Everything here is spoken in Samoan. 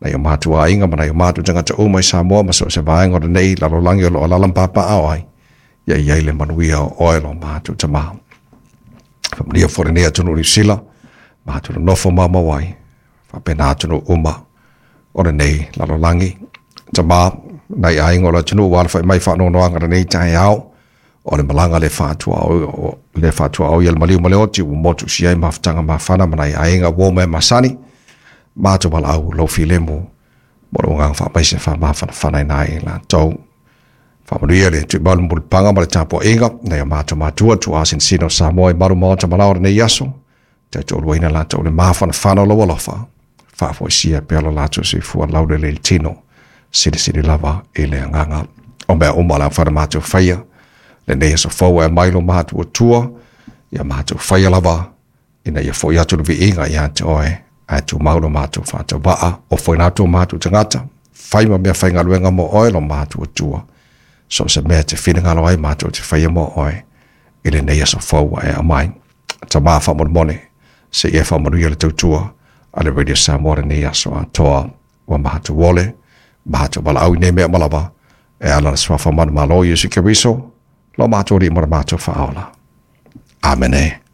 Nai o matou aiga ma nai o matou tagata uma i Samoa ma so o se vaega o lenei lalolagi o lo o alaala ma papaaao ai, ia i ai le manuia o oe lo matou Tama. Faamanuia foi lenei atunuu o Niu Sila, matou nonofo maumau ai, faapena atunuu uma o lenei lalolagi. Tama, nai aiga o le atunuu ua alafai mai faanoanoaga lenei taeao, o le malaga le faatuaoi e le maliu ma le oti ua motusia ai mafutaga mafana ma nai aiga uo ma e masani, matou valaau lou filemu mo lou agaga faamaise faamafanafana ai i latou. Faamanuia le tuimau le mulipaga ma le tapuaiga nai o matou matua tuaa sinosino o Samoa i malu maota malao lenei aso, tautoaluaina latou le mafanafana o lou alofa, faafoisia pea lo latou soifua laulelei le tino, silisili lava i le agaga. O mea uma o le a mafai ona matou faia lenei aso fou e aumai lo matou Atua, ia matou faia lava ina ia foi atu le viiga ia te oe, ae tumau lo matou faatauvaa, ofoina atu o matou tagata, fai ma mea faigaluega mo oe lo matou Atua, so o se mea e te finagalo ai matou te faia mo oe i lenei aso fou ua e aumai. Tama faamolemole, se i e faamanuia le tautua a le Radio Samoa lenei aso atoa, ua matou ole, matou valaau i nei mea uma lava, e ala le suafa manumalo Iesu Keriso, lo matou Alii ma le matou Faaola. Amene.